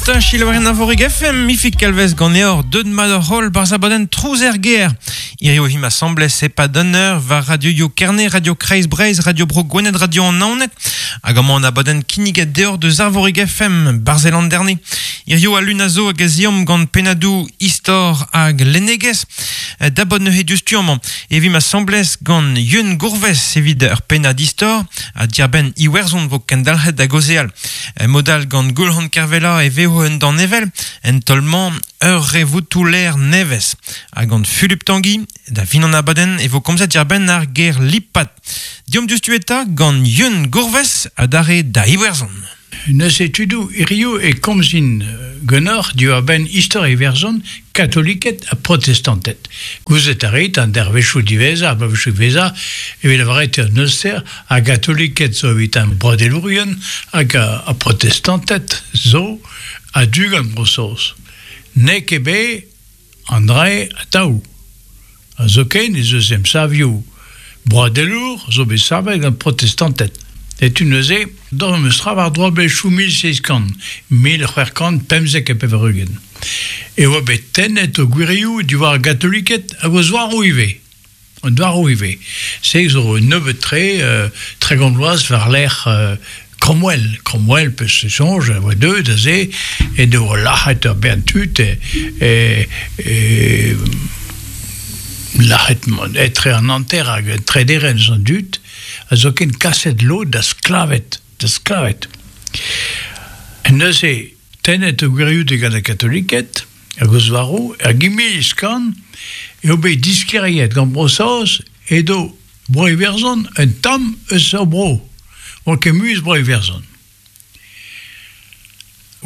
ta selaouerien Arvorig FM, Ifig Kalvez ganeoc'h, deut mat hoc'h holl barzh abadenn Trouz er gêr. Hirio e vimp asambles e-pad un eur war Radio Yo Kerne, Radio Kreiz Breizh, Radio Bro Gwened, Radio an Naoned, hag amañ an abadenn kinniget deoc'h deus Arvorig FM, barzh Landerne. Hirio al lun a zo hag a ziomp gant pennadoù istor hag lennegezh. Dabot neuze diouzhtu amañ e vimp asambles gant Yeun Gourves evit ur pennad istor ha diarbenn Iwerzhon vo kendalc'het da gaozeal. Mod all gant Goulc'han Kervella e vezo un danevell, en taol-mañ ur revoutoù-lêr nevez. Ha gant Fulup Tanguy, da fin an abadenn e vo komzet diarbenn ar ger lipat. Deomp diouzhtu eta gant Yeun Gourves adarre da Iwerzhon. Neuze tudoù, hiziv e komzin ganeoc'h diwar-benn istor Iwerzhon, katoliked ha protestanted. Gouzout a rit an dervezhioù diwezhañ, ar bloavezhioù diwezhañ, evit lavaret eo neuze ar gatoliked zo evit an broadelourien hag ar protestanted zo a-du gant Bro-Saoz. N'eo ket bet an dra-se atav. Ha zoken ez eus emsavioù broadelour zo bet savet gant protestanted. Setu neuze d'ober memes tra war-dro bloavezhioù 1700, 1695 e oa bet tennet o gwirioù diwar ar gatoliked hag o zouaroù ivez. An douaroù ivez. Se zo nebeut-tre, 30 vloaz war-lerc'h Cromwell. Cromwell, peus soñj, a oa deuet aze, en devoa lac'het ur bern tud, e, e, lac'het etre an hanter hag un trederenn eus an dud, ha zoken kaset lod da sklaved. Da sklaved. Neuze, tennet o gwirioù digant ar gatoliked, hag o zouaroù, er Gimiz-Kan eo bet disklêriet gant Bro-Saoz edo Bro-Iwerzhon un tamm eus hor bro, oa ket mui eus Bro-Iwerzhon.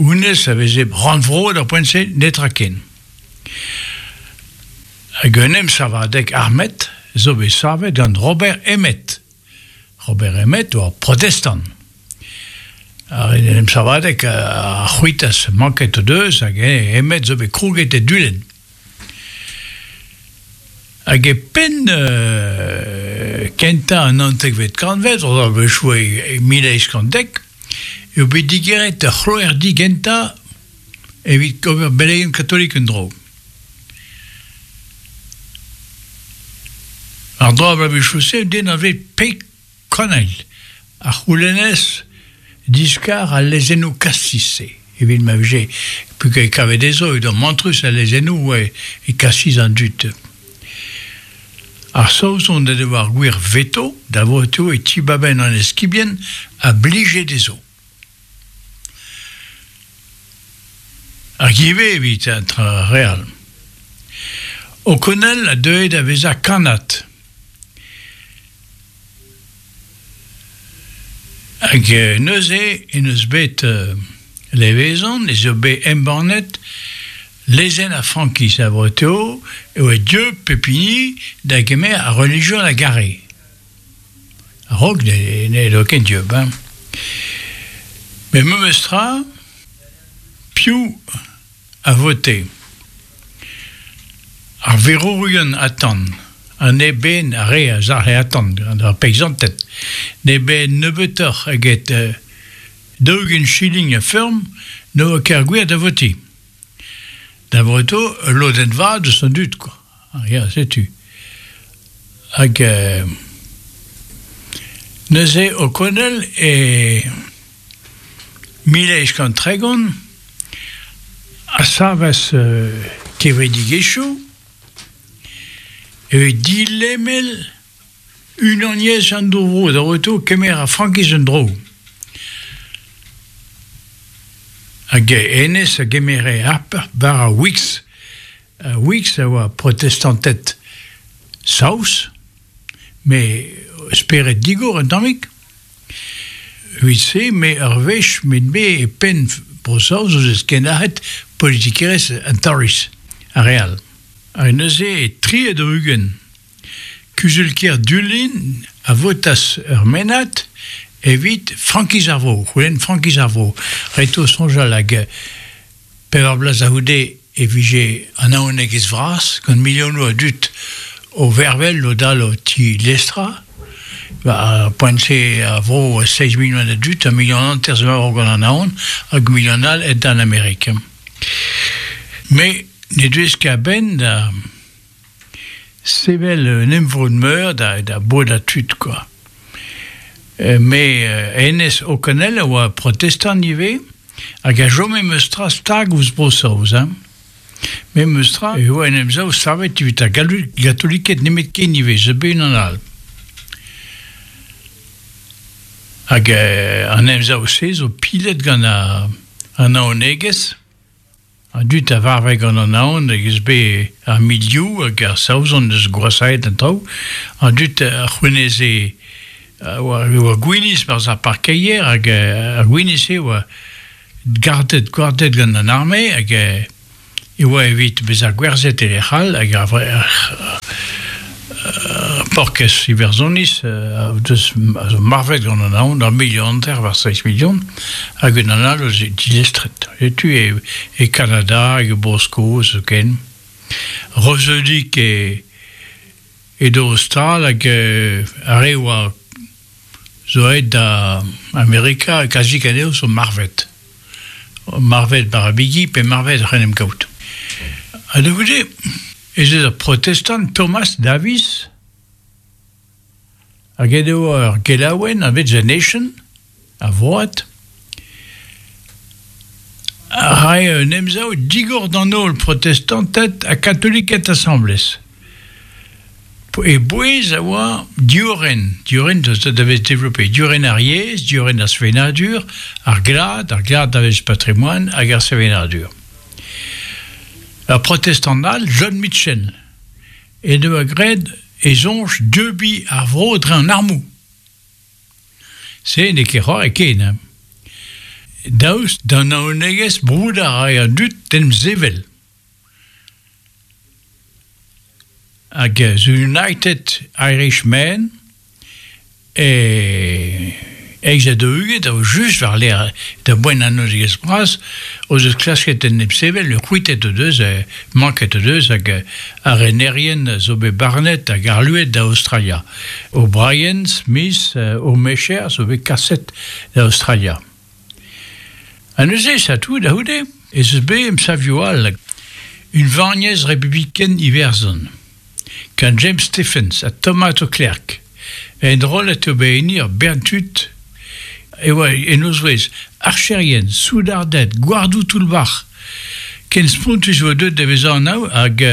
Honnezh a veze rannvro d'ar poent-se, netra ken. Hag un emsavadeg armet zo bet savet gant Robert Emmet. Robert Emmet oa protestant. Ar en emsavadeg a c'hwitas manket o deus hag Emmet zo bet krouget e Dulenn. Hag e penn kentañ an naontekvet kantved, a-wechoù e 1810, eo bet digeret ur c'hloerdi gentañ evit ober beleien katolik en-dro. Ar dra bloavezhioù-se den a vez peg Konel a c'houlennez diskar al lezennoù kastiz-se evit ma vije peogwir e kave dezho edo mantrus al lezennoù e kastiz an dud. Ar Saozon en devoa ar gwir veto da votoù e tibabenn an eskibien a blije dezho. Hag ivez evit an tra re all. O'Connell a deue da vezañ kannad. Hag neuze en deus bet levezon ez eo bet embannet lezenn ar frankiz a Vreteo e oa dieub pep hini da gemer ar relijion a gare. A-raok n'edo ket dieub hein. Met memes tra, piv a vote? Ar verourien atant, ha ne ben ar re a zalc'he atant gant ar peizanted, ne ben nebeutoc'h eget 40 shilling a feurm ne oa ket ar gwir da votiñ. Da voto ul lodenn vat eus an dud kwa. Ya, setu. Hag neuze O'Connell e 1830 a savas kevredigezhioù evit dilemel unaniezh an dour-vro da voto kemer ar frankiz en-dro. Hag hennezh a gemere harp war ar Whigs. Ar Whigs a oa protestanted saoz, met spered digor un tammig. Evit-se, me ur wech met me e penn Bro-Saoz o deus kenac'het politikerezh an Tories, ar re all. Ha neuze e 43 Kuzul-kêr Dulenn a votas ur mennad evit frankiz ar vro, c'houlenn frankiz ar vro. Ret eo soñjal hag pevar bloaz a-c'houde e vije an naonegezh vras gant milionoù a dud o vervel o dal o tilestrañ. War ar poent-se a vro 7 milion a dud, ur milion hanter zo war gant an aon, hag ur milion all aet d'an Amerik. Me ne deuez ket a-benn da sevel un emvod meur da, da bodañ tud, quoi. Me hennezh O'Connell a oa protestant ivez, hag a chome meus tra stag ouzh Bro-Saoz. Hein. Memes tra e oa en emsav savet evit ar gatoliked nemetken ivez, zo bet unan all. Hag an emsav-se zo pilet gant an naonegezh. An dud a varve gant an aon hag eus bet ar milioù hag ar Saozon eus gwashaet an traoù. An dud a c'houneze a oa gwinizh barzh ar parkeier hag ar gwinizh-se oa gardet, gwardet gant an arme hag e oa evit bezañ gwerzhet e lec'h all hag ar porkez Iwerzhoniz deus a zo marvet gant an aon ur milion hanter war seizh milion hag unan all eus dilestret. Setu e, e Kanada hag e Bro-Skos zoken. Reuzeudik e edo o stal hag ar re oa zo aet da Amerika kazi anezho zo marvet. Marvet war ar bigi pe marvet oc'h en em gaout. Ha da goude ez eus ur protestant Thomas Davis hag edo ur gelaouenn anvet The Nation a vroad a rae un emsav digor d'an holl protestanted ha katoliked asambles. E bouez a oa diorren, diorren da vez développé, diorren ar yezh, diorren ar sevenadur, ar glad, ar glad da vez patrimoine hag ar sevenadur. Ur protestant all, John Mitchell, en doa graet e soñj deubiñ ar vro dre an armoù. Se n'eo ket c'hoari ken. Hein. Daoust d'an naonegezh broudañ a rae an dud d'en em sevel. Hag The United Irishmen e eizh ha daou-ugent a vo just war-lerc'h da boent an nozegezh bras o deus klasket en em sevel, c'hwitet o deus, manket o deus hag ar renerien zo bet barnet hag arluet da Aostralia. O'Brien, Smith, O'Mecher zo bet kaset da Aostralia. Ha neuze, setu, da c'houde, ez eus bet emsavioù all. Unvaniezh Republiken Iwerzhon, gant James Stephens ha Thomas O'Clerk. Enrollet eo bet enni ur bern tud e oa en o zouez archerien, soudarded, gwardoù toull-bac'h. Ken spontus e oa deuet da vezañ an ao hag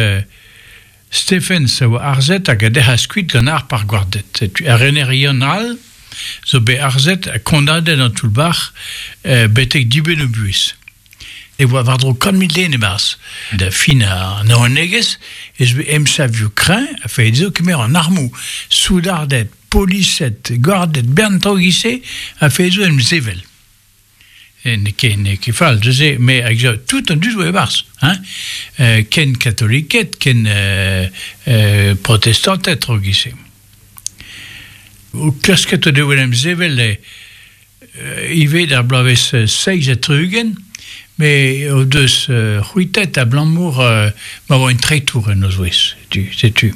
Stephens a oa harzet hag a dec'has kuit gant harp ar gwarded. Setu ar renerion all zo bet harzet ha kondaonet an toull-bac'h betek dibenn o buhez. E oa war-dro 100 000 den e-barzh. Da fin an naonegezh ez eus bet emsavioù kreñv a felle dezho kemer an armoù, soudarded, polised, gwarded, bern traoù e-giz-se a felle dezho en em sevel. N'eo ket, n'eo ket fall neuze, mais tout an dud oa e-barzh, hein, ken katoliked, ken protestanted tro giz-se. O klasket o devoa en em sevel ivez d'ar bloavezh 67, met o deus c'hwitet abalamour ma oa un treitour en o zouez, setu.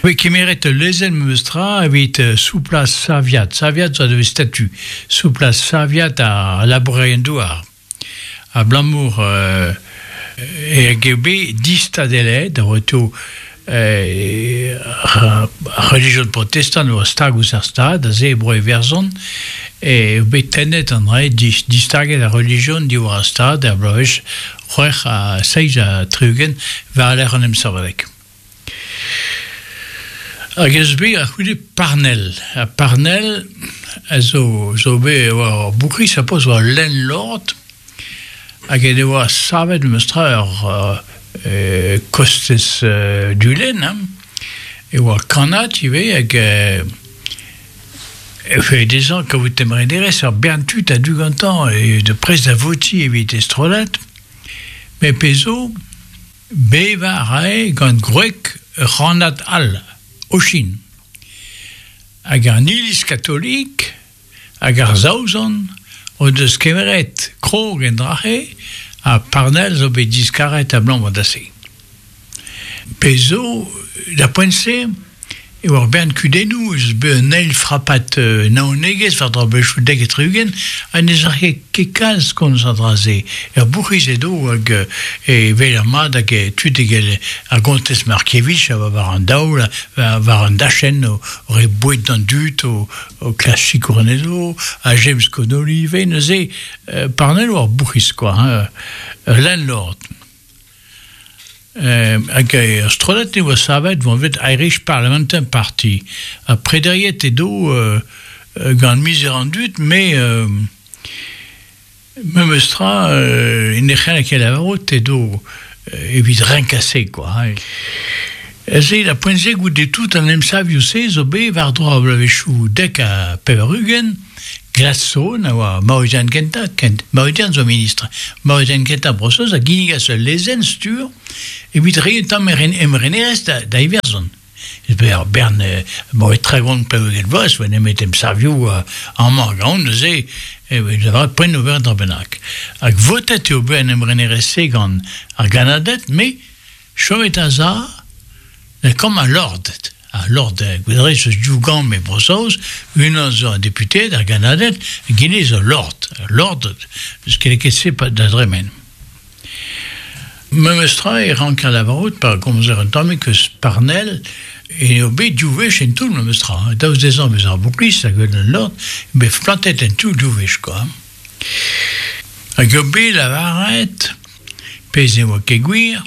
Voe kemeret ul lezenn memes tra evit souplañ saviad. Saviad zo a statu. Souplañ saviad ar labourerien-douar. Abalamour e eo bet distadelaet a oa ar relijion protestant a oa stag ouzh ar Stad, aze e Bro-Iwerzhon, eo bet tennet an dra distaget ar relijion diwar ar Stad er bloavezh 76 war-lerc'h an emsavadeg. Hag ez eus bet a-c'houde Parnell. Ha Parnell a zo, zo bet war ur bourc'hiz a poz war landlord hag en devoa savet memes tra ur kostez Dulenn. Hein. E oa kannad ivez hag e felle dezhañ kaout emrenerezh ur bern tud a-du gantañ e de prest da votiñ evit e strollad. Met pezh zo, Bevañ a rae gant gwreg ur c'hannad all, Oisin. Hag an Iliz katolik hag ar Saozon o deus kemeret krog en dra-se ha Parnell zo bet diskaret abalamour da se. Pezh zo, da poent-se, E oa ur bern kudennoù, ez eus bet un eil frapad naonegezh war-dro bloavezhioù 70 ha ne zalc'he ket kalz komz an dra-se. Ur bourc'hiz edo hag e weler mat hag tud evel ar gontez Markievitch a oa war an daol, war an dachenn o reiñ boued d'an dud, o klask sikour anezho, ha James Connolly ivez neuze. Parnell oa ur bourc'hiz kwa, hein, ul landlord. Hag ur strollad e oa savet anvet Irish Parliamentary Party. Ha prederiet edo gant mizer an dud, met memes tra ne c'helle ket lavarout edo evit renkañ se kwa. Se da poent-se goude tout an emsavioù-se zo bet war-dro ar bloavezhioù 90 Gladstone a oa maozian kentañ, kent maozian zo ministr, maozian kentañ Bro-Saoz a ginnigas ul lezenn stur evit reiñ un tamm emrenerezh da, da Iwerzhon. Ur bern moe 30 peogwir vloaz, oa nemet emsavioù amañ hag ahont neuze e lavaret poent ober un dra bennak. Hag votet eo bet an emrenerezh-se gant ar Gannaded, met chomet a-za Lakaomp al lorded. Al lord, gwez eus div gambr e Bro-Saoz, unan zo an deputeed, ar gannaded, egile zo lord. Lord, n'eus ket lakaet se da dremen. Memes tra e ranker lavarout pa gomzer un tammig eus Parnell eo bet div wech en toull memes tra. Daoust dezhañ bezañ ar bourc'hiz hag un lord, bet plantet en toull div wech kwa. Hag eo bet lavaret, pezh ne oa ket gwir,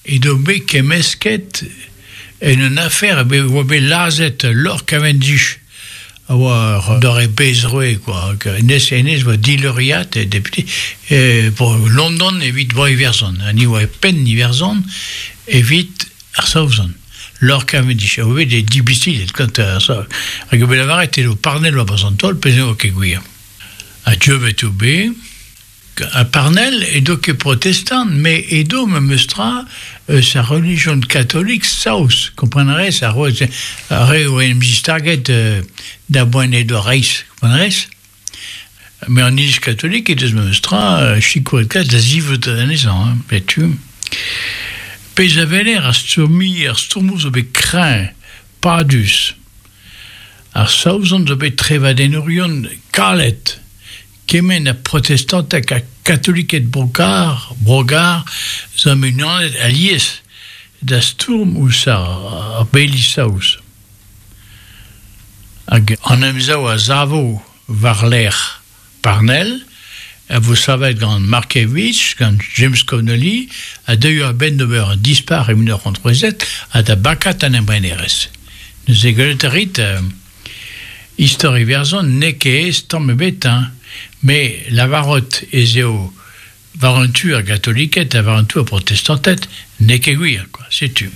Edo bet kemmesket en un afer e oa bet lazhet Lord Cavendish a oa ur doare bezroe kwa hennezh hennezh oa dileuriad depute bro London evit bro Iwerzhon ha ni oa e penn Iwerzhon evit ar Saozon Lord Cavendish a oa bet e dibisilet gant ar Saoz hag eo bet lavaret edo Parnell war an taol pezh ne oa ket gwir ha dieubet eo bet Ha Parnell edo ket protestant, met edo memes tra eus ar relijion katolik saoz, kompren a rez, ar re o en em zistaget da boent edo reizh, kompren a rez? Met an iliz katolik he deus memes tra sikouret kalz da zivout anezhañ, hein, setu. Pezh a weler ar stourmiñ, ar stourmoù zo bet kreñv, padus. Ar Saozon zo bet trevadennourion kalet. Kement ha protestantek ha katoliked Brogar, Brogar zo em unanet alies da stourm ouzh ar beli saoz. Hag an emsav a savo war-lerc'h Parnell a vo savet gant Markievicz, gant James Connolly, a deuio a-benn d'ober un dispac'h e 1937 ha da bakat an emrenerezh. Neuze gwelet a rit Istor Iwerzhon n'eo ket aes tamm ebet hein, met lavarout ez eo war un tu ar gatoliked ha war un tu ar protestanted n'eo ket gwir kwa, setu.